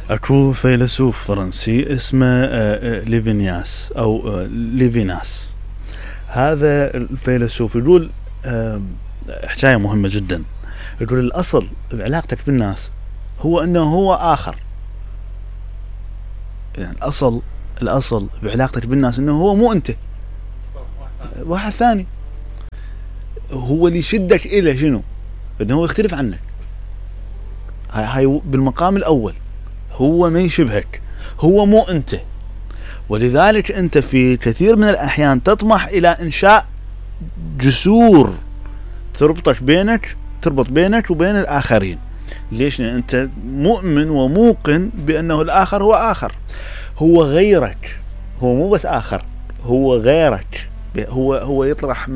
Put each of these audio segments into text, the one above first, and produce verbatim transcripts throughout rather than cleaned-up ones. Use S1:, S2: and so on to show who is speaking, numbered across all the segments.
S1: اكو فيلسوف فرنسي اسمه ليفيناس او ليفيناس. هذا الفيلسوف يقول حكاية مهمة جدا. يقول الأصل بعلاقتك بالناس هو أنه هو آخر. يعني الأصل الأصل بعلاقتك بالناس أنه هو مو أنت، واحد ثاني. هو اللي يشدك إليه شنو؟ أنه هو يختلف عنك. هاي هاي بالمقام الأول، هو ما يشبهك، هو مو أنت. ولذلك أنت في كثير من الأحيان تطمح إلى إنشاء جسور تربطك بينك تربط بينك وبين الآخرين. ليش؟ لأن أنت مؤمن وموقن بأنه الآخر هو آخر، هو غيرك، هو مو بس آخر، هو غيرك. هو هو يطرح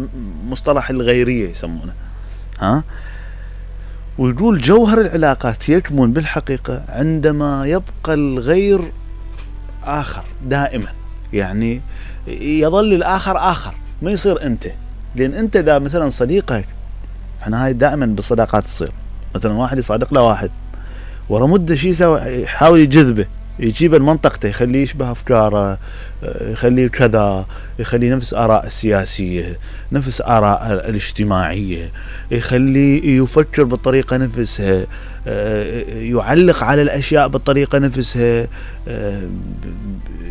S1: مصطلح الغيرية يسمونه. ها؟ ويقول جوهر العلاقات يكمن بالحقيقة عندما يبقى الغير آخر دائما. يعني يظل الآخر آخر، ما يصير أنت. لأن أنت ذا مثلا صديقك، احنا هاي دائما بالصداقات تصير، مثلا واحد يصادق له واحد ورا مدة شي يسوي، يحاول يجذبه، يجيبه لمنطقته، يخليه يشبه أفكاره، يخليه كذا، يخليه نفس آراء السياسية، نفس آراء الاجتماعية، يخليه يفكر بالطريقة نفسها، يعلق على الأشياء بالطريقة نفسها،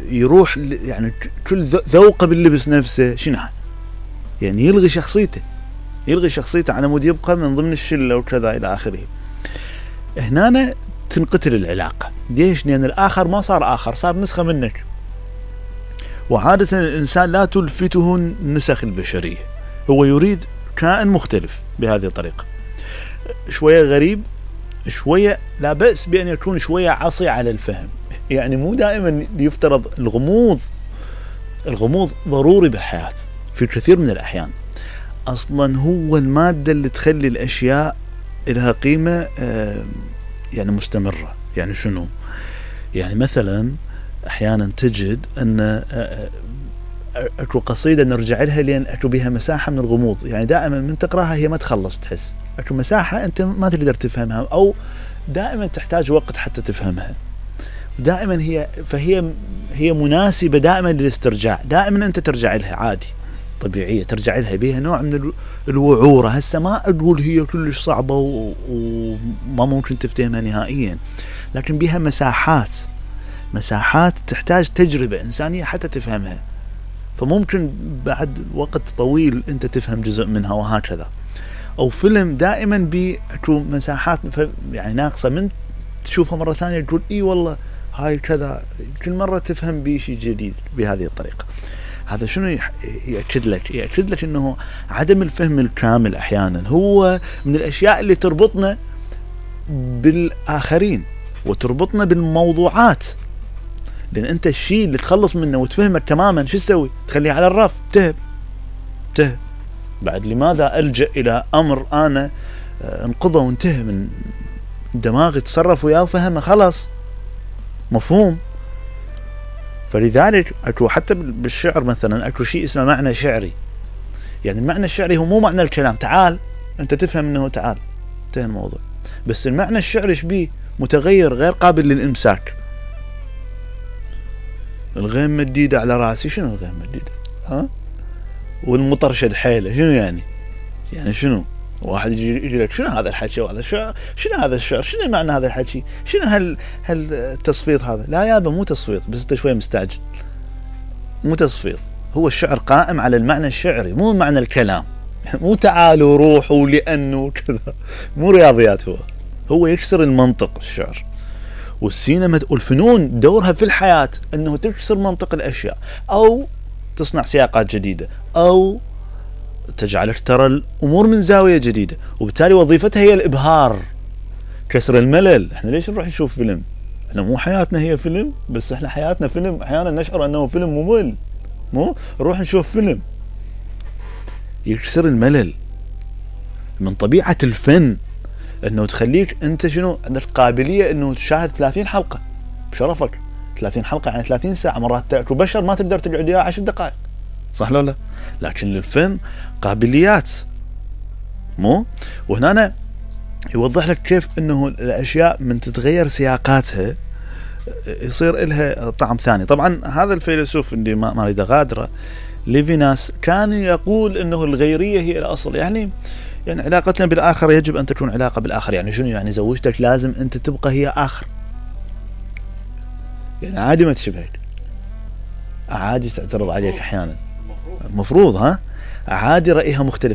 S1: يروح يعني كل ذوقه باللبس نفسه. شنو يعني؟ يلغي شخصيته يلغي شخصيته على مود يبقى من ضمن الشلة وكذا إلى آخره. هنا تنقتل العلاقة. ليش؟ لأن الآخر ما صار آخر، صار نسخة منك. وعادة الإنسان لا تلفته النسخ البشرية، هو يريد كائن مختلف بهذه الطريقة، شوية غريب، شوية لا بأس بأن يكون شوية عصي على الفهم. يعني مو دائما يفترض الغموض. الغموض ضروري بالحياة في كثير من الأحيان. أصلا هو المادة اللي تخلي الأشياء لها قيمة يعني مستمرة. يعني شنو؟ يعني مثلا أحيانا تجد أن أكو قصيدة نرجع لها لأن أكو بها مساحة من الغموض. يعني دائما من تقرأها هي ما تخلص، تحس أكو مساحة أنت ما تقدر تفهمها، أو دائما تحتاج وقت حتى تفهمها. دائما هي فهي هي مناسبة دائما للاسترجاع. دائما أنت ترجع لها عادي، طبيعية ترجع لها، بها نوع من الوعورة. هسه ما أقول هي كلش صعبة وما ممكن تفتهمها نهائيا، لكن بها مساحات مساحات تحتاج تجربة إنسانية حتى تفهمها. فممكن بعد وقت طويل أنت تفهم جزء منها وهكذا. أو فيلم دائما بأكو مساحات يعني ناقصة، من تشوفها مرة ثانية تقول إيه والله هاي كذا، كل مرة تفهم بشيء جديد بهذه الطريقة. هذا شنو يأكد لك؟ يأكد لك أنه عدم الفهم الكامل أحيانا هو من الأشياء اللي تربطنا بالآخرين وتربطنا بالموضوعات. لأن أنت الشيء اللي تخلص منه وتفهمك تماما شو تسوي؟ تخليه على الرف، تهب تهب بعد. لماذا ألجأ إلى أمر أنا انقضى وانتهى من دماغي، تصرف وياه وفهمه، خلاص مفهوم. فلذلك أكو حتى بالشعر مثلا أكو شيء اسمه معنى شعري. يعني المعنى الشعري هو مو معنى الكلام، تعال أنت تفهم أنه تعال انتهى الموضوع. بس المعنى الشعري شبيه؟ متغير، غير قابل للإمساك. الغيم مديدة على راسي، شنو الغيم مديدة؟ ها؟ والمطر شد حيله، شنو يعني؟ يعني شنو؟ واحد يجي يجي لك شنو هذا الحكي وهذا الشعر؟ شنو هذا الشعر؟ شنو معنى هذا الحكي؟ شنو هال هالتصفيط هذا؟ لا يابا مو تصفيط، بس انت شوي مستعجل. مو تصفيط، هو الشعر قائم على المعنى الشعري، مو معنى الكلام. مو تعالوا روحوا لأنه كذا، مو رياضيات. هو هو يكسر المنطق الشعر. والسينما والفنون دورها في الحياة أنه تكسر منطق الأشياء، أو تصنع سياقات جديدة، أو تجعلك ترى الأمور من زاوية جديدة. وبالتالي وظيفتها هي الإبهار، كسر الملل. احنا ليش نروح نشوف فيلم؟ احنا مو حياتنا هي فيلم؟ بس احنا حياتنا فيلم. أحيانا نشعر أنه فيلم ممل، مو نروح نشوف فيلم يكسر الملل. من طبيعة الفن انه تخليك انت شنو عندك قابلية انه تشاهد ثلاثين حلقة بشرفك. ثلاثين حلقة يعني ثلاثين ساعة. مرات تأكل بشر ما تقدر تقعد وياه عشر دقائق، صح لو لا؟ لكن للفن قابليات، مو؟ وهنا يوضح لك كيف انه الاشياء من تتغير سياقاتها يصير لها طعم ثاني. طبعا هذا الفيلسوف اللي ما اريد اغادره ليفيناس كان يقول انه الغيرية هي الاصل، يعني يعني علاقتنا بالاخر يجب ان تكون علاقة بالاخر. يعني شنو يعني زوجتك لازم انت تبقى هي اخر، يعني عادي ما تشبهك، عادي تعترض عليك احيانا، المفروض ها عادي رأيها مختلف